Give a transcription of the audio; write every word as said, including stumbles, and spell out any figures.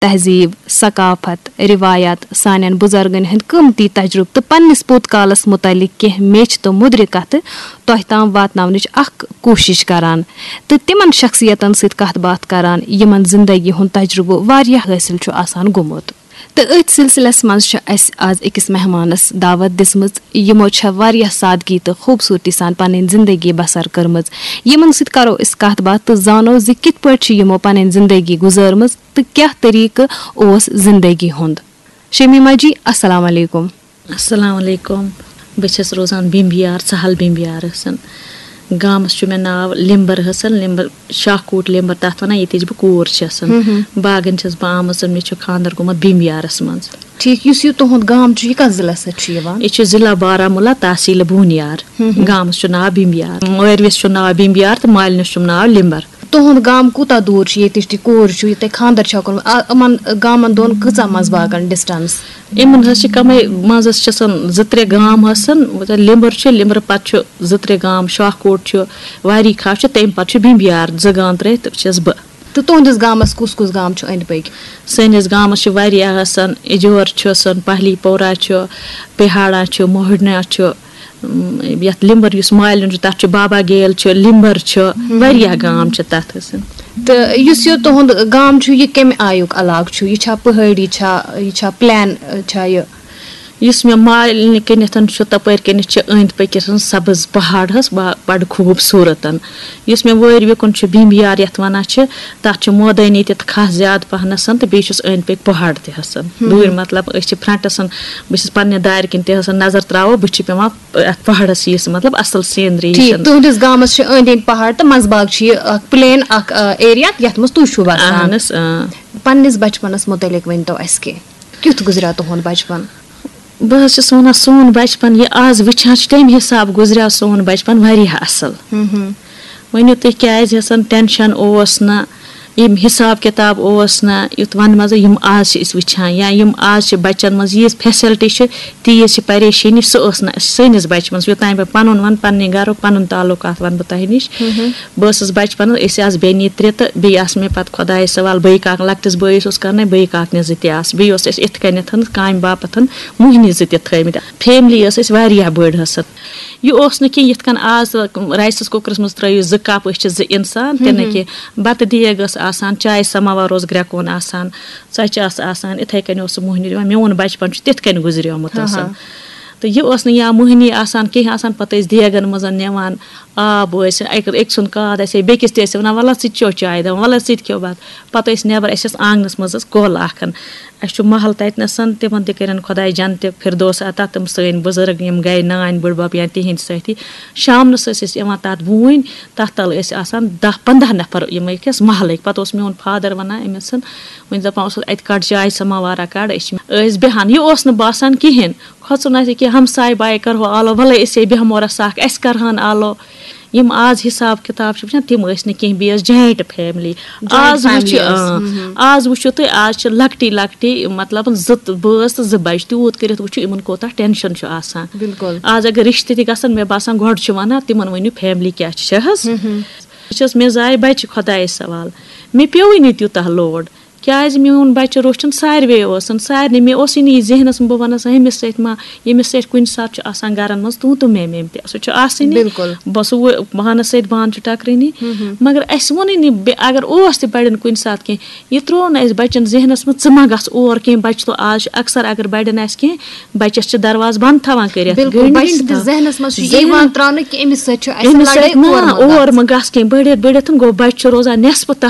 تہذیٖب، ثقافت، رِوایات، سانٮ۪ن بُزرگن ہٕنٛدۍ قۭمتی تجرُبہٕ تہٕ پننِس پوٚت کالس مُتعلق کینٛہہ میچھِ تہٕ مُدرِ کتھٕ تۄہہِ تام واتناونٕچ اکھ کوٗشِش کران تہٕ تِمن شخصیتن سۭتۍ کتھ باتھ کران، یِمن زندگی ہُنٛد تجرُبہٕ واریاہ حٲصِل چھُ آسان گوٚمُت۔ تہٕ أتھۍ سلسلس منٛز چھِ اسہِ آز أکِس مہمانس دعوت دِژمٕژ، یِمو چھےٚ واریاہ سادگی تہٕ خوٗبصوٗرتی سان پنٕنۍ زندگی بسر کٔرمٕژ۔ یِمن سۭتۍ کرو أسۍ کتھ باتھ تہٕ زانو زِ کِتھ پٲٹھۍ چھِ یِمو پنٕنۍ زندگی گُزٲرمٕژ تہٕ کیٛاہ طریٖقہٕ اوس زندگی ہُنٛد۔ شمیمہ جی، السلام علیکم۔ السلام علیکم۔ بہٕ چھَس روزان بِمبیار، سہل بِمبیارَس۔ گامَس چھُ مےٚ ناو لِمبر حسن، لِمبر، شاہ کوٗٹ لِمبر، تَتھ وَنان ییٚتِچ بہٕ کوٗر چھَس۔ باغَن چھَس بہٕ آمٕژ، مےٚ چھُ خانٛدر گوٚمُت بِمبیارَس منٛز۔ ٹھیٖک، یُس یہِ تُہُنٛد گام چھُ، یہِ کَتھ ضلعس سۭتۍ چھُ یِوان؟ یہِ چھُ ضلع بارہمولہ، تحصیٖل بونیار۔ گامَس چھُ ناو بِمبیار، مٲروِس چھُ ناو بِمبیار تہٕ مالِنِس چھُم ناو لِمبر۔ تُہُنٛد گام کوٗتاہ دوٗر چھُ ییٚتِچ تہِ کوٗر چھُ، یہِ تۄہہِ خانٛدر چھُ کوٚرمُت؟ آ، یِمَن گامَن دۄن کۭژاہ منٛز باغَن distance؟ یِمَن حظ چھِ کَمٕے، منٛزَس چھِ آسان زٕ ترٛےٚ گام آسان، مطلب لِمبر چھُ، لِمبرٕ پَتہٕ چھُ زٕ ترٛےٚ گام، شاہ کوٹ چھُ، واری کھاہ چھُ، تَمہِ پَتہٕ چھُ بِمبیار، زٕ گام ترٛٲوِتھ چھَس بہٕ۔ تہٕ تُہٕنٛدِس گامَس کُس کُس گام چھُ أنٛدۍ پٔکۍ؟ سٲنِس گامَس چھِ واریاہ آسان، اِجور چھُ آسان، پہلی پورہ چھُ، پہاڑا چھُ، موہڈنا چھُ، اُم، یَتھ لِمبر یُس مالِن چھُ، تَتھ چھُ بابا گیل چھُ، لِمبر چھُ، واریاہ گام چھِ تَتھ حظ۔ تہٕ یُس یہِ تُہُنٛد گام چھُ، یہِ کَمہِ آیُک علاقہٕ چھُ؟ یہِ چھا پہٲڑی، چھا، یہِ چھا plain، چھا یہِ؟ یُس مےٚ مالِنہِ کِنٮ۪تھ چھُ، تَپٲرۍ کِنٮ۪تھ چھِ أنٛدۍ پٔکِس سبٕز پہاڑ حظ، با-، بَڑٕ خوٗبصوٗرت۔ یُس مےٚ وٲرۍ وِکُن چھُ بِمبیار یَتھ وَنان چھِ، تَتھ چھُ مٲدٲنی تہِ تہٕ کھاہ زیادٕ پَہنَس تہٕ بیٚیہِ چھُس أنٛدۍ پٔکۍ پہاڑ تہِ حظ۔ دوٗرِ مطلب أسۍ چھِ frontس، بہٕ چھَس پنٛنہِ دارِ کِنۍ تہِ حظ نظر ترٛاوو، بہٕ چھِ پٮ۪وان اَتھ پہاڑس یِژھ مطلب اَصٕل scenery ٹھیٖک، ہِش۔ تُہٕنٛدِس گامَس چھِ أنٛدۍ أنٛدۍ پہاڑ تہٕ منٛزباگ چھُ یہِ اکھ plain اکھ، آ، area یَتھ منٛز تُہۍ چھِو بَسان۔ اَہَن حظ، اۭں۔ پنٛنِس بَچپَنَس مُتعلِق ؤنۍ تو اَسہِ کینٛہہ، کیُتھ گُزریو تُہُنٛد بَچپَن؟ بہٕ حظ چھَس وَنان، سون بَچپَن یہِ آز وٕچھان چھِ، تَمہِ حِساب گُزریو سون بَچپَن واریاہ اَصٕل۔ ؤنِو تُہۍ، کیٛازِ یَسَن tension اوس نہٕ، یِم حِساب کِتاب اوس نہٕ، یُتھ وَنہٕ منٛزٕ یِم آز چھِ أسۍ وٕچھان، یا یِم آز چھِ بَچَن منٛز ییٖژ facility چھِ، تیٖژ چھِ پریشٲنی، سُہ ٲس نہٕ اَسہِ سٲنِس بَچپَنَس۔ یوٚتام بہٕ پَنُن وَنہٕ، پنٛنہِ گَرُک پَنُن تعلُقات وَنہٕ بہٕ تۄہہِ نِش۔ بہٕ ٲسٕس بَچپَنَس، أسۍ آسہٕ بیٚنہِ ترٛےٚ تہٕ بیٚیہِ آسہٕ مےٚ پَتہٕ خۄدایَس حوالہٕ بٲے کاک، لۄکٹِس بٲیِس اوس کَرنَے، بٲے کاکنہِ زٕ تہِ آسہٕ۔ بیٚیہِ اوس اَسہِ یِتھ کٔنٮ۪تھ کامہِ باپَتھ مۄہنی زٕ تہِ تھٲومٕتۍ۔ Family ٲس اَسہِ واریاہ بٔڑ حظ۔ یہِ اوس نہٕ کینٛہہ یِتھ کٔنۍ آز riceس cookerس منٛز ترٛٲیِو زٕ cup، أسۍ چھِ زٕ اِنسان، تہِ نہٕ کینٛہہ۔ بَتہٕ دیگ ٲس آسان، چاے سَماوار اوس گرٛٮ۪کوُن آسان، ژۄچہِ آسہٕ آسان، اِتھَے کٔنۍ اوس سُہ مۄہنیُو دِوان۔ میون بَچپَن چھُ تِتھ کٔنۍ گُزریومُت آسان۔ تہٕ یہِ ٲس نہٕ یا مۄہنی آسان، کینٛہہ آسان، پَتہٕ ٲسۍ دیگَن منٛز نِوان آب، ٲسۍ اَکہِ، أکۍ سُنٛد کاد آسہِ ہے، بیٚکِس تہِ ٲسۍ وَنان، "وَلہٕ حظ، ژٕ تہِ چیٚو چاے"، دَپان، "وَلہٕ حظ، ژٕ تہِ کھیٚو بَتہٕ"۔ پَتہٕ ٲسۍ نٮ۪بَر، اَسہِ ٲس آنٛگنَس منٛز حظ کۄل اَکھ۔ اَسہِ چھُ محل تَتہِ نَسَن، تِمَن تہِ کٔرِنۍ خۄداے جنتِ فردوس عطا، تِم سٲنۍ بُزرگ، یِم گٔے نانۍ بٕڈبَب یا تِہِنٛدۍ سٲتھی۔ شامنَس ٲسۍ أسۍ یِوان تَتھ بوٗنۍ، تَتھ تَل ٲسۍ آسان دَہ پنٛداہ نفر یِمَے کِس محلٕکۍ۔ پَتہٕ اوس میون father وَنان أمِس، وۄنۍ دَپان اوسُس، "اَتہِ کَڑ چاے سَماوارا کَڑ"، أسۍ چھِ، ٲسۍ بیٚہان۔ یہِ اوس نہٕ باسان کِہیٖنۍ، کھۄژُن آسہِ کینٛہہ، ہمساے باے کَرہو آلو، وَلَے أسے بیٚہمو رَژھا اَکھ، اَسہِ کَرہَن آلو۔ یِم آز حِساب کِتاب چھِ وٕچھان، تِم ٲسۍ نہٕ کینٛہہ، بیٚیہِ ٲس joint family۔ Joint آز وٕچھ، family ٲس، اۭں، اۭں۔ آز وٕچھِو تُہۍ، آز چھِ لۄکٹی لۄکٹی، مطلب، زٕ تہٕ بٲژ تہٕ زٕ بَچہِ، تیوٗت کٔرِتھ وٕچھِو، یِمَن کوٗتاہ tension چھُ آسان۔ بِلکُل۔ آز اگر رِشتہٕ تہِ گژھن، مےٚ باسان، گۄڈٕ چھِ وَنان، تِمَن ؤنِو family کیٛاہ چھِ حظ۔ بہٕ چھَس، مےٚ زایہِ بَچہِ خۄدایَس سوال، مےٚ پیوٚوُے نہٕ تیوٗتاہ load۔ کیٛازِ میون بَچہٕ روٚچھُن ساروے اوسُن، سارنٕے۔ مےٚ اوسُے نہٕ یہِ ذہنَس منٛز، بہٕ وَنَس، ہُمِس سۭتۍ ما، ییٚمِس سۭتۍ کُنہِ ساتہٕ چھُ آسان گَرَن منٛز تُو تہٕ میں میں تہِ، سُہ چھُ آسٲنی۔ بِلکُل۔ بہٕ سُہ وۄنۍ پانَس سۭتۍ بانہٕ چھُ ٹَکرٲنی۔ مگر اَسہِ ووٚنُے نہٕ، بے-، اگر اوس تہِ بَڑٮ۪ن کُنہِ ساتہٕ کینٛہہ، یہِ ترٛوو نہٕ اَسہِ بَچَن ذہنَس منٛز، "ژٕ ما گژھ اور کینٛہہ"۔ بَچہٕ تو آز چھُ اکثر، اگر بَڑٮ۪ن آسہِ کینٛہہ، بَچَس چھِ دروازٕ بنٛد تھاوان کٔرِتھ، بِلکُل، گٔنٛڈۍ بَچہِ گٔنٛڈۍ سٕنٛدِس تھاوان۔ ذہنَس منٛز چھُ یہِ ذہنَس یِوان ترٛاونہٕ کہِ أمِس سۭتۍ چھُ اَسہِ أمِس لَڑٲے سۭتۍ نا، اور ما گژھِ۔ اور ما گژھ کینٛہہ، بٔڑِتھ بٔڑِتھ گوٚو بَچہٕ چھُ روزان نٮ۪صفہٕ تَتھ